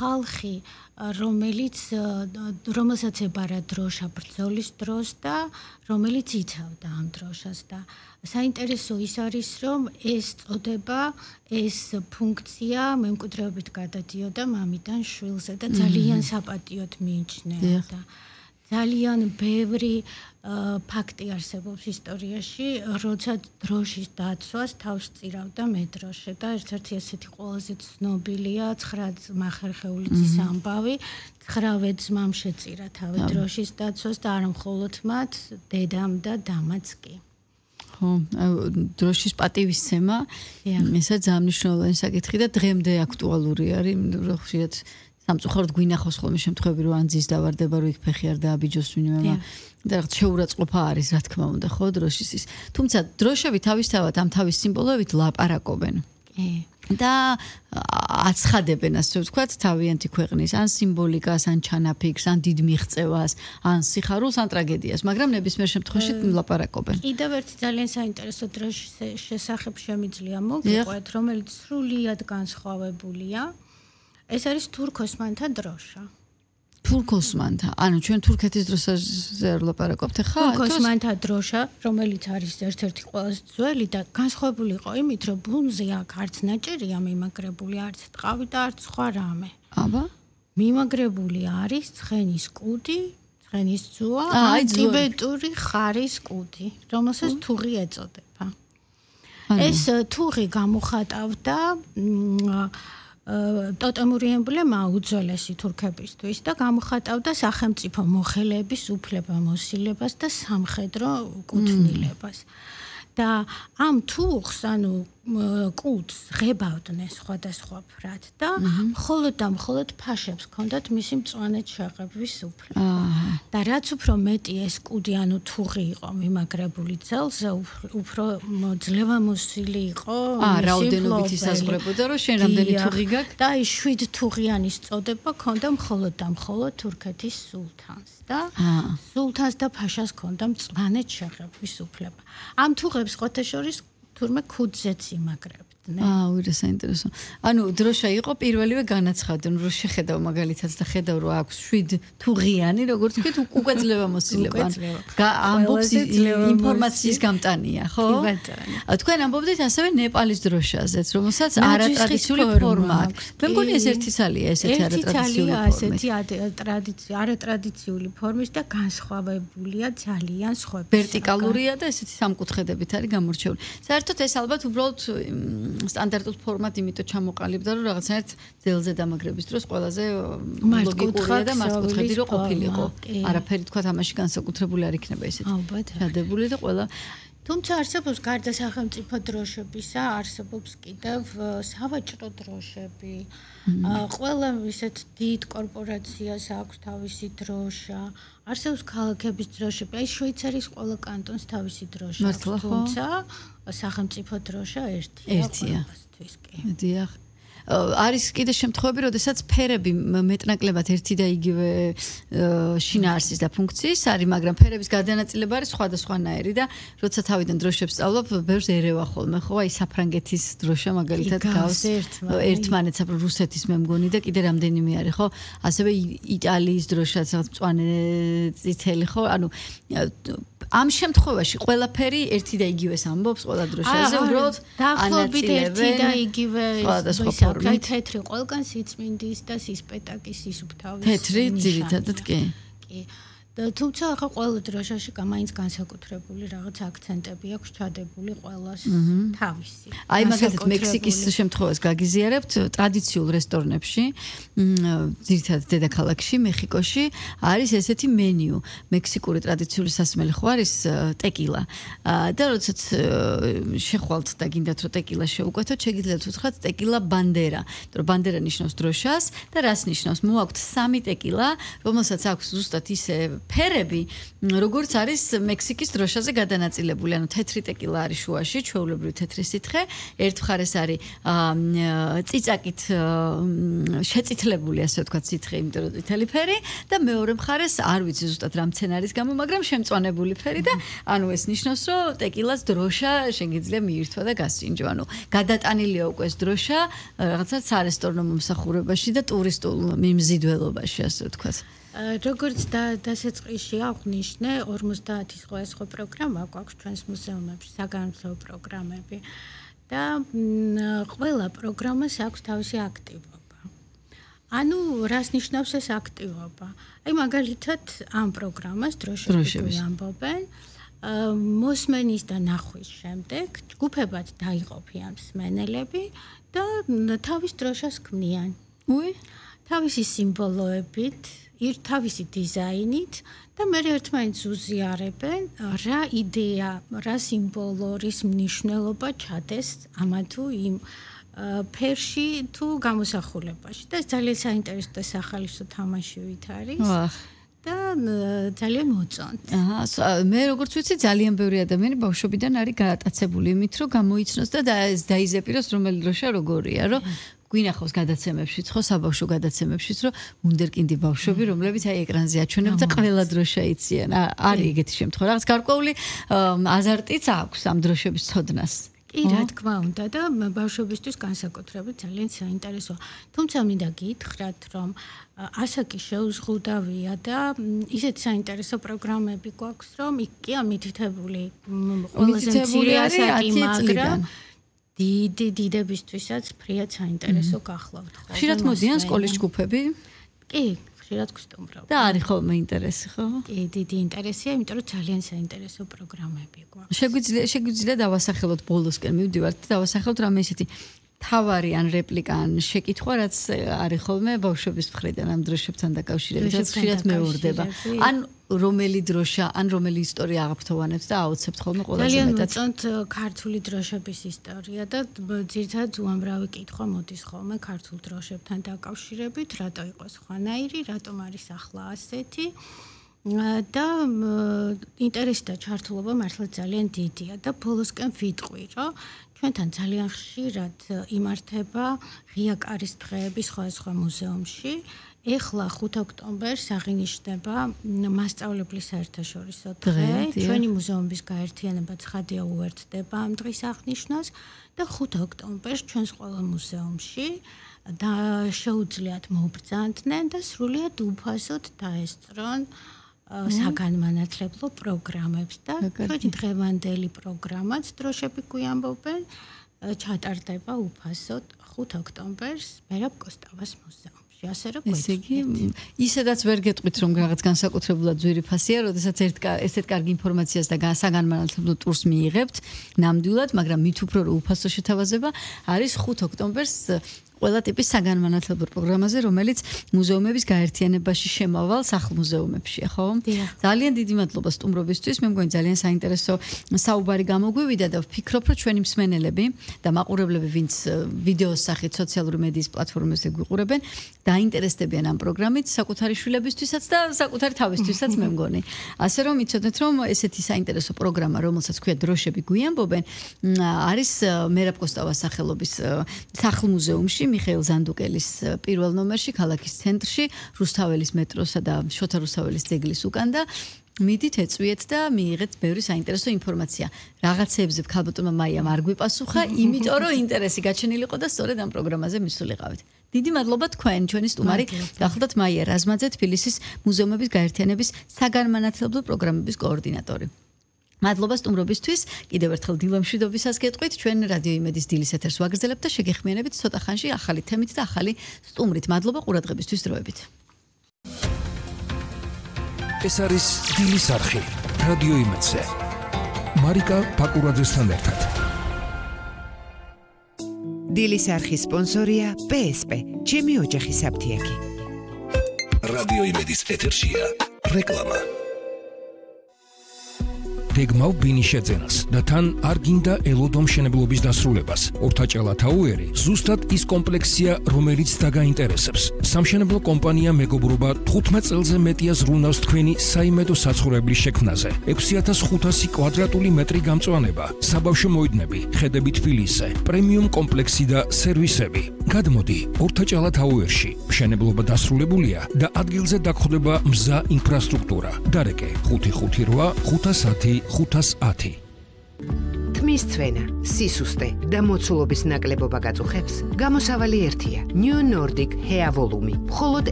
ხალხი, რომელსაც ებარა დროშა ბრძოლის დროს და რომელიც იცავდა ამ დროშას და საინტერესო ის არის, რომ ეს წოდება, ეს ფუნქცია მემკვიდრეობით გადადიოდა მამიდან შვილზე და ძალიან საპატიოდ მიიჩნეოდა. ძალიან ბევრი ფაქტი არსებობს ისტორიაში, როცა დროშის დაცვას თავს წირავდა მედროშე და ერთ-ერთი ესეთი ყველაზე ცნობილია 9 ძმა ხერხეული ძის ამბავი, 9 ძმამ შეწირა თავი დროშის დაცვას და არა მხოლოდ მათ, დედამ და დამაც კი. ხო, დროშის პატივისცემა, ესა ძალიან მნიშვნელოვანი საკითხი და დღემდე აქტუალური არის, ხშირად სამწუხაროდ გვინახავს ხოლმე შემთხვევები, რომ ან ძის დავარდება, რომ იქ ფეხი არ დააბიჯოს ვინმე და რაღაც შეურაცხყოფა არის, რა თქმა უნდა, ხო, დროშის ის. თუმცა დროშები თავისთავად ამ თავის სიმბოლოებით ლაპარაკობენ. და აცხადებენ, ასე ვთქვათ, თავიანთი ქვეყნის ან სიმბოლიკას, ან ჩანაფიქრს, ან დიდ მიღწევას, ან სიხარულს, ან ტრაგედიას, მაგრამ ნებისმიერ შემთხვევაში ლაპარაკობენ. კიდევ ერთი ძალიან საინტერესო დროშის შესახებ შემიძლია მოგიყვეთ, რომელიც სრულიად განსხვავებულია. ეს არის თურქ-ოსმანთა დროშა. თურქ-ოსმანთა, ანუ ჩვენ თურქეთის დროშაზე არ ლაპარაკობთ ხა? თურქ-ოსმანთა დროშა, რომელიც არის ერთ-ერთი ყველაზე ძველი და განსხვავებული იყო იმით, რომ ბუნზე აქ არც ნაჭერია მიმაგრებული, არც ტყავი და არც სხვა რამე. აბა? მიმაგრებული არის ცხენის კუდი, ცხენის ძუა, ტიბეტური ხარის კუდი, რომელსაც თუღი ეწოდება. ეს თუღი გამოხატავდა ტოტემური ემბლემა უძველესი თურქებისთვის და გამოხატავდა სახელმწიფო მოხელეების უფლებამოსილებას და სამხედრო კუთვნილებას. და ამ თუღს, ანუ კუდს ღებავდნენ სხვადასხვა ფრად და მხოლოდ ფაშებს ჰქონდათ მისი მწვანედ შეღებვის უფლება. და რაც უფრო მეტი ეს კუდი, ანუ თუღი იყო მიმაგრებული ძელზე, უფრო ძლევამოსილი იყო რაოდენობით ისაზღვრებოდა, რომ შენ რამდენი თუღი გაქვს? და ის 7 თუღიანის წოდება ჰქონდა მხოლოდ თურქეთის სულთანს და სულთანს და ფაშას ჰქონდა მწვანედ შეღებვის უფლება. ამ თუღებს ხოთეშორის თურმე ქუდზეც იმაგრებდნენ. უირა საინტერესო. ანუ დროშა იყო პირველივე განაცხადნენ, რომ შეხედავ მაგალითად და ხედავ, რომ აქვს 7 თუღიანი, როგორც ვთქვით, უკვე ძლევამოსილება. ამბობს ინფორმაციის გამტანია, ხო? თქვენ ამბობდით ასევე ნეპალის დროშაზეც, რომელსაც არატრადიციული ფორმა აქვს. მე მგონი ეს ერთი ცალია, ესეთი არატრადიციული ფორმის. არატრადიციული ფორმის და განსხვავებულია ძალიან სხვაები. ვერტიკალურია და ესეთი სამკუთხედებით არის გამორჩეული. საერთოდ ეს ალბათ უბრალოდ სტანდარტულ ფორმად იმიტომ ჩამოყალიბდა, რომ რაღაცნაირად ძელზე დამაგრების დროს ყველაზე ლოგიკურია და მართკუთხედი რო ყოფილიყო. არაფერი თქვა ამაში განსაკუთრებული არ იქნება ესეთი. შადებული და ყველა თუმცა არსებობს გარდა სახელმწიფო დროშებისა, არსებობს კიდევ სავაჭრო დროშები. ყველა ისეთ დიდ კორპორაციას აქვს თავისი დროშა. არსებობს ქალაქების დროშები. აი შვეიცარიის ყველა კანტონს თავისი დროშა აქვს, თუმცა სახელმწიფო დროშა ერთია. დიახ. არის კიდე შემთხვევები, როდესაც ფერები მეტნაკლებად ერთი და იგივე შინაარსის და ფუნქციის არის, მაგრამ ფერების გადანაწილება არის სხვადასხვანაირი და როცა თავიდან დროშებს სწავლობ, ბევრს ერევა ხოლმე, ხო, აი საფრანგეთის დროშა მაგალითად გავს ერთმანეთს, რუსეთის მე მგონი და კიდე რამდენიმე არის, ხო? ასევე იტალიის დროშაც რაღაც მწვანე წითელი, ხო? ანუ ამ შემთხვევაში ყველაფერი ერთი და იგივეს ამბობს ყველა დროშაზე, უბრალოდ დაახლოებით ერთი და იგივე ისე თეთრი ყველგან სიწმინდის და სისპეტაკის ისუფთავის. თეთრი ძირითადად კი. და თუმცა ახლა ყველა დროშაში მაინც განსაკუთრებული რაღაც აქცენტები აქვს ჩადებული ყველას თავისი. აი მაგალითად მექსიკის შემთხვევას გაგიზიარებთ ტრადიციულ რესტორნებში, ძირითადად დედაქალაქში, მეხიკოში არის ესეთი მენიუ. მექსიკური ტრადიციული სასმელი ხო არის ტეკილა. და როდესაც შეხვალთ და გინდათ რომ ტეკილა შეუკვეთოთ, შეგიძლიათ უთხრათ ტეკილა ბანდერა. რომ ბანდერა ნიშნავს დროშას და რას ნიშნავს? მოაქვთ 3 ტეკილა, რომელსაც აქვს ზუსტად ისე ფერები როგორც არის მექსიკის დროშაზე გადანაწილებული, ანუ თეთრი ტეკილა არის შუაში, ჩვეულებრივი თეთრი სითხე, ერთ მხარეს არის წიწაკით შეწითლებული, ასე ვთქვათ, სითხე, იმიტომ რომ წითელი ფერი და მეორე მხარეს არ ვიცი ზუსტად რა მცენარის გამო, მაგრამ შემწვანებული ფერი და ანუ ეს ნიშნავს, რომ ტეკილას დროშა შეგიძლია მიირთვა და გასინჯო, ანუ გადატანილია უკვე ეს დროშა რაღაცა სარესტორნო მომსახურებაში და ტურისტულ მიმზიდველობაში, ასე ვთქვათ. როგორც დასაწყისში აღვნიშნე, 50 სხვა პროგრამა გვაქვს ჩვენს მუზეუმებში, საგანმანათლებლო პროგრამები და ყველა პროგრამას აქვს თავისი აქტივობა. ანუ რას ნიშნავს ეს აქტივობა? აი მაგალითად ამ პროგრამას დროშები ამბობენ, მოსმენის და ნახვის შემდეგ ჯგუფებად დაიყოფიან მსმენელები და თავის დროშას ქმნიან. თავისი სიმბოლოებით, თავისი დიზაინით და მე ერთმანეთს უზიარებენ რა იდეა, რა სიმბოლო, რის მნიშვნელობა ჩადეს ამა თუ იმ ფერში თუ გამოსახულებაში და ეს ძალიან საინტერესო და სახალისო თამაშივით არის. და ძალიან მოწონთ. მე როგორც ვიცი, ძალიან ბევრი ადამიანი ბავშვობიდან არის გაატაცებული იმით, რომ გამოიცნოს და დაიზეპიროს რომელი დროშა როგორია, რომ გვინახავს გადაცემებშიც, ხო, საბავშვო გადაცემებშიც, რომ ვუნდერკინდი ბავშვები, რომლებიც აი ეკრანზე აჩვენებენ და ყველა დროშა იციან. არის ეგეთი შემთხვევა. რაღაც გარკვეული აზარტიც აქვს ამ დროშების ცოდნას. კი, რა თქმა უნდა და ბავშვებისთვის განსაკუთრებით ძალიან საინტერესოა. თუმცა მინდა გითხრათ, რომ ასაკი შეუზღუდავია და ისეთ საინტერესო პროგრამები გვაქვს, რომ იქ კი ამითითებული ყველაზე მცირე ასაკი, მაგრამ დიდებისთვისაც ფრიად საინტერესო გახლავთ. ხშირად მოდიან სკოლის ჯგუფები? კი, ხშირად გვსტუმრობენ. და არის ხოლმე ინტერესი, ხო? კი, დიდი ინტერესია, იმიტომ რომ ძალიან საინტერესო პროგრამები გვაქვს. შეგვიძლია დავასახელოთ ბოლოსკენ მივდივართ და დავასახელოთ რამე ისეთი თავარი ან რეპლიკა ან შეკითხვა, რაც არის ხოლმე ბავშვების მხრიდან ამ დროშებთან დაკავშირებით, რაც ხშირად მეორდება. ან რომელი დროშა, ან რომელი ისტორია აღფრთოვანებთ და აუცებთ ხოლმე ყველაზე მეტად. ძალიან მოწონთ ქართული დროშების ისტორია და ძირითადად უამრავი კითხვა მოდის ხოლმე ქართულ დროშებთან დაკავშირებით, რატო იყო სხვანაირი, რატომ არის ახლა ასეთი. და ინტერესი და ჩართულობა მართლა ძალიან დიდია და ბოლოსკენ ვიტყვი, რომ ჩვენთან ძალიან ხშირად იმართება ღია კარის დღეები სხვადასხვა მუზეუმში. ეხლა 5 ოქტომბერს აღინიშნება მასწავლებლის საერთაშორისო დღე. ჩვენი მუზეუმის გაერთიანება ცხადია უერთდება ამ დღის აღნიშვნას და 5 ოქტომბერს ჩვენს ყველა მუზეუმში და შეუძლიათ მოუბრძანდნენ და სრულიად უფასოდ დაესწრონ საგანმანათლებლო პროგრამებს და ჩვენი დღევანდელი პროგრამაც დროშები გვიამბობენ ჩატარდება უფასოდ 5 ოქტომბერს მერაბ კოსტავას მუზეუმში. ასე რომ ესე იგი, ისედაც ვერ გეტყვით რომ რაღაც განსაკუთრებულად ძვირფასია, როდესაც ესეთ კარგი ინფორმაციას და საგანმანათლებლო ტურს მიიღებთ ნამდვილად, მაგრამ მით უფრო უფასო შეთავაზება არის 5 ოქტომბერს ყველა ტიპის საგანმანათლებლო პროგრამაზე, რომელიც მუზეუმების გაერთიანებაში შემავალ სახლ-მუზეუმებშია, ხო? ძალიან დიდი მადლობა სტუმრობისთვის. მე მგონი ძალიან საინტერესო საუბარი გამოგვივიდა და ვფიქრობ, რომ ჩვენი მსმენელები და მაყურებლები, ვინც ვიდეოს სახით სოციალური მედიის პლატფორმებზე გვიყურებენ, დაინტერესდებიან ამ პროგრამით საკუთარი შვილებისთვისაც და საკუთარი თავისთვისაც, მე მგონი. ასე რომ იცოდეთ, რომ ესეთი საინტერესო პროგრამა, რომელსაც ქვია დროშები გვიამბობენ, არის მერაბ კოსტავას სახელობის სახლ-მუზეუმში მიხეილ ზანდუკელის პირველ ნომერში, ქალაქის ცენტრში, რუსთაველის მეტროსა და შოთა რუსთაველის ძეგლის უკან და მიდით ეწვიეთ და მიიღეთ ბევრი საინტერესო ინფორმაცია. რაღაცეებზე ქალბატონმა მაიამ არ გვიპასუხა, იმიტომ რომ ინტერესი გაჩენილიყო და სწორედ ამ პროგრამაზე მისულიყავით. დიდი მადლობა თქვენ, ჩვენი სტუმარი გახლდათ მაია რაზმაძე, თბილისის მუზეუმების გაერთიანების საგანმანათლებლო პროგრამების კოორდინატორი. მადლობა სტუმრობისთვის. კიდევ ერთხელ დილამშვიდობისას გეტყვით. ჩვენ რადიო იმედის დილის ეთერს ვაგრძელებთ და შეგეხმიანებით ცოტა ხანში ახალი თემით და ახალი სტუმრით. მადლობა ყურადღებისთვის, დროებით. ეს არის დილის არხი რადიო იმედზე. მარიკა პაკურაძესთან ერთად. დილის არხის სპონსორია PSP, ჩემი ოჯახის აფთიაქი. რადიო იმედის ეთერშია რეკლამა. გეგმავ ბინის შეძენას და თან არ გინდა ელოდო მშენებლობის დასრულებას. ორთაჭალა თაუერი ზუსტად ის კომპლექსია, რომელიც დაგაინტერესებს. სამშენებლო კომპანია მეგობრობა 15 წელზე მეტია ზრუნავს თქვენი საიმედო საცხოვრებლის შექმნაზე. 6500 კვადრატული მეტრი გამწვანება, საბავშვო მოედნები, ხედები თბილისზე, პრემიუმ კომპლექსი და სერვისები. გადმოდი ორთაჭალა თაუერში. მშენებლობა დასრულებულია და ადგილზე დაგხვდება მზა ინფრასტრუქტურა. დარეკე 558 510 510. თმის ცვენა, სისუსტე და მოცულობის ნაკლებობა გაწუხებს. გამოსავალი ერთია. New Nordic Hair Volume. მხოლოდ